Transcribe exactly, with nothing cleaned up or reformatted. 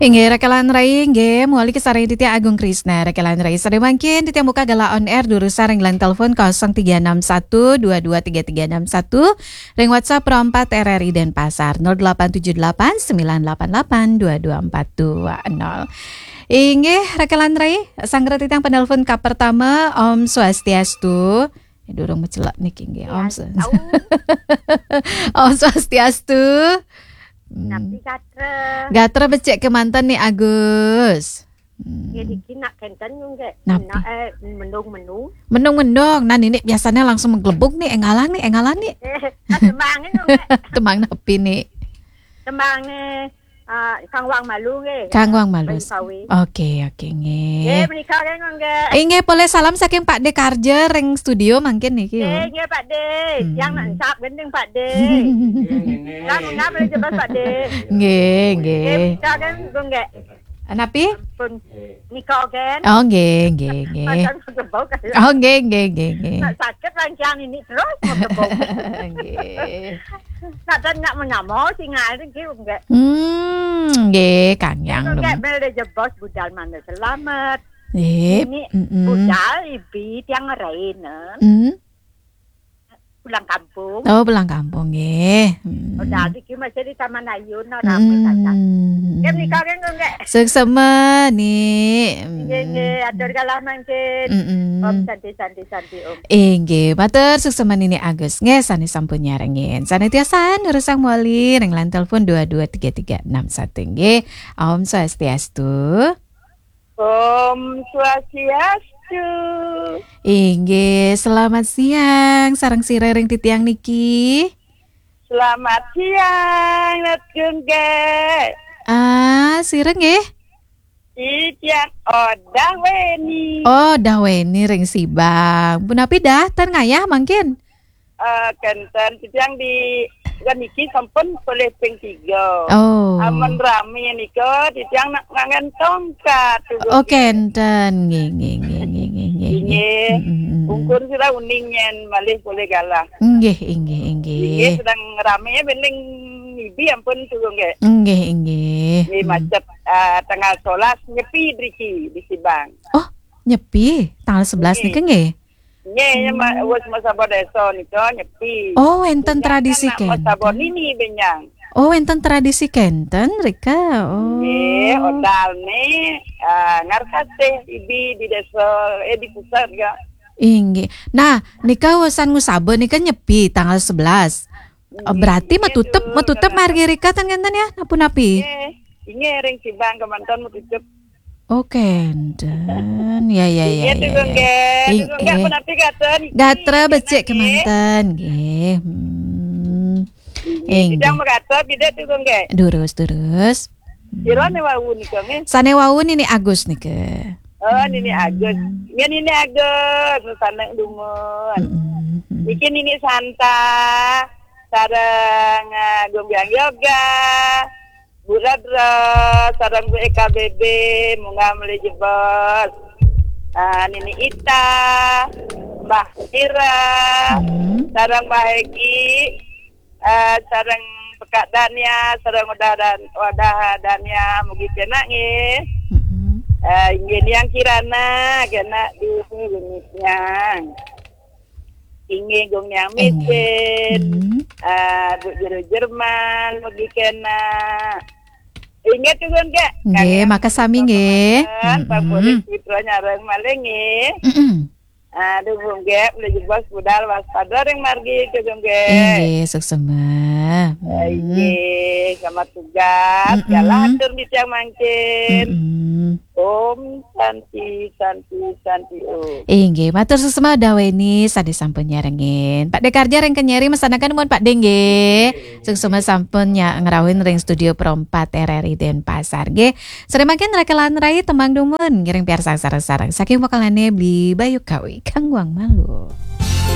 Inggih, raka lan rai, inggih, mawali kasarengin titiang Agung Krisna, raka lan rai. Sadaya mangkin titiang buka galah on air durusang ring line telepon kosong tiga enam satu dua dua tiga tiga enam satu, ring WhatsApp Pro empat R R I Denpasar, nol delapan tujuh delapan sembilan delapan delapan dua dua empat dua nol. Inggih, raka lan rai, sanggra titiang penelpon kapertama, Om Swastiastu. Eh, durung macelek niki, inggih. Om Swas- Om Swastiastu. Hmm. Napi gatra? Gatra becik kemanten Ni Agus. Hmm. Ya, diki nak kenten nggih. Napi? Nak, eh, mendung-mendung. Mendung-mendung. Nah, nini biasanya langsung menggelebug ni, enggalang ni, enggalang ni. Eh, tembang ni nggih. Tembang napi ni? Tembang ni, ah, Kang Wang Malu nggih. Kang Wang Malu. Bali Sawi. Okey, okey, nggih. Nggih, menika nggih, nggih. Inggih, polih salam saking Pak De Karja ring studio mangkin niki, nggih, ya. Nggih, Pak De. Hmm. Yang nak encap gending, Pak De. Kan ngap le jebas, Pak De. Nggih, nggih. Nggih, menika nggih, nggih. Napi? Pun nika kan. Oh, nggih, nggih, nggih. Macam gebau kan. Oh, nggih, nggih, nggih, nggih. Nak sakit rangkiang ini terus mau gebau. Nggih. Nak dan nak menyamar singal niki nggih. Hmm, nggih, Kang Yang. Nggih, bel de jebos budal mana selamat. Nggih. Ini, mm-mm, budal ibi tiang raina. Hmm. Pulang kampung. Oh, pulang kampung nggih. Hmm. Budal niki masih di Taman Ayun, rame saja. Hmm. Nggih, menika nggih, nggih. Suksema, Ni. Nggih, nggih, atur galah mangkin. Mm-mm. Om Santi, Santi, Santi, Om. Inggih, matur suksema Nini Agus nggih, sane sampun nyarengin. Sane tiosan durusang mawali ring line telepon dua dua tiga tiga enam satu nggih. Om Swastiastu. Om Swastiastu. Inggih, selamat siang. Sareng sira ring titiang niki? Selamat siang, Ratu nggih. Ah, sira nggih? Titiang Odah Weni. Odah Weni ring Sibang. Punapi Dah, ten ngayah mangkin? Eh, kenten, titiang di, kan niki sampun polih ping tiga. Oh. Amun rame nika, titiang nak ngangen tongkat, tuh, oh, nggih. Kenten. Nggih, nggih, nggih, nggih, nggih, nggih. Nggih. Mm, mm, mm, mm. Pungkur sira uning yen malih polih galah. Nggih, inggih, inggih. Nggih, sedang rame bening ibi ampun, tuh, nggih. Nggih, inggih. Nggih, mm, macet, eh, tanggal sebelas Nyepi driki di Sibang. Oh, Nyepi, tanggal sebelas, nggih, nika nggih? Nggih, ya, ma-, hmm, wis masaba desa nika Nyepi. Oh, wenten tradisi kenten? Masaba nini benjang. Oh, wenten tradisi kenten, rika. Oh. Nggih, odalne, ah, ngarkasih ibi di desa, eh, di pusat ga. Inggih. Nah, nika wusan ngusaba nika Nyepi tanggal sebelas. Oh, nggih, berarti nggih, matutep, tuh, matutep tanggal margi rika ten kenten ya, napi-napi? Nggih. Inggih, ring Sibang kemanten matutep. Oh, kenten. Ya, ya, ya, ya, ya. Inggih, tuh, nggih. Ing-, tuh, nggih, eh, punapi gatra niki? Gatra becik kemanten, nggih. Hmm. Inggih, inggih. Titiang magatra, tidak tuh, nggih. Durus, durus. Sira ne wau nika, nggih? Sane wau Nini Agus nika. Oh, Nini Agus. Hmm. Nggih, Nini Agus, saneng dumun. Mm-mm, mm-mm. Niki Nini Santa, sareng, eh, Gombyang Yoga, Bu Radra, sareng Bu E K B B, munggah malih jebos. Ah, Nini Ita, Mbah Ira, hmm, sareng Mbah Egi, eh, sareng Pekak Dania, sareng Wadah Dan-, Wadah Dania, mugi kenak nggih. Mm-mm. Eh, inggih Niang Kirana, kenak di Gunit Niang. Inggih Gung Niang, inggih, Mitin. Mm-mm. Eh, Bu Jero Jerman, mugi kenak. Inggih tuh, Gung, nggih. Nggih, makasami, nggih. Kang Pak Polisi, mm-mm, Putra nyareng malih, nggih. Mm-mm. Aduh, Bu, nggih, malih jebos budal waspada ring margi, Gung, nggih. Inggih, suksema. Eh, hmm, inggih, selamat tugas. Mm-mm. Galah atur titiang mangkin. Mm-mm. Om Santi, Santi, Santi, Om. Inggih, matur suksema Daweni sane sampun nyarengin. Pak De Karja ring Kenyeri masanaken nuwun Pak De nggih. Suksema sampun nya-, ngrauhin ring Studio Pro empat R R I Denpasar nggih. Sare mangkin raka lan rai tembang dumun ngiring piarsang sareng-sareng saking vokalane Bli Bayu Kawi, Kang Wang Malu.